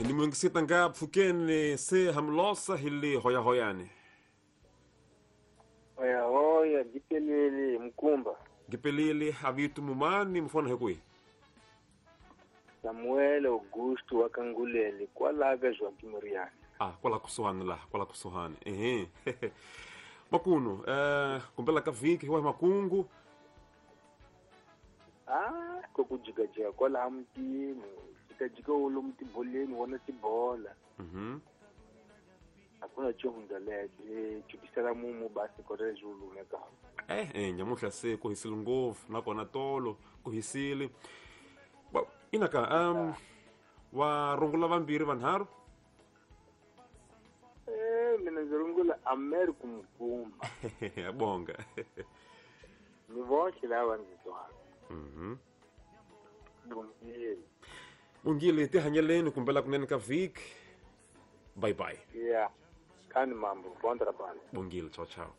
Ni nga pfukeni se hamlosa hi le hoyahoyani. Hoyahoya gipelele mkumba. Gipelele avitu mumani mfona hekui. Samuel Augusto wa Kangulele kwala ka Joaquim Moriane. Ah, kwala kusuhani la, kwala kusuhani. Ehe. Makuno, kumbela ka vhiki wa makungu. Ah, ko ku jikajika kwala mutini, jikajika ulo mutiboleni wona tibola. Hakuna chihunda lexi chukisela mumu basi kore zulu ka. Nyamuhla se ku hisile ngopfu nakona tolo ku hisile. Well, inaka wa rungula vambirhi vanharhu. Mina ndzi rungula America Mkumba. Bonga. Ni voxe lava ndzi twaka. Bongile. Bongile tihanyeleni kumbela kunene ka vhiki. Bye bye. Yeah. Kani mambo, bom trabalho. Bongile, tchau tchau.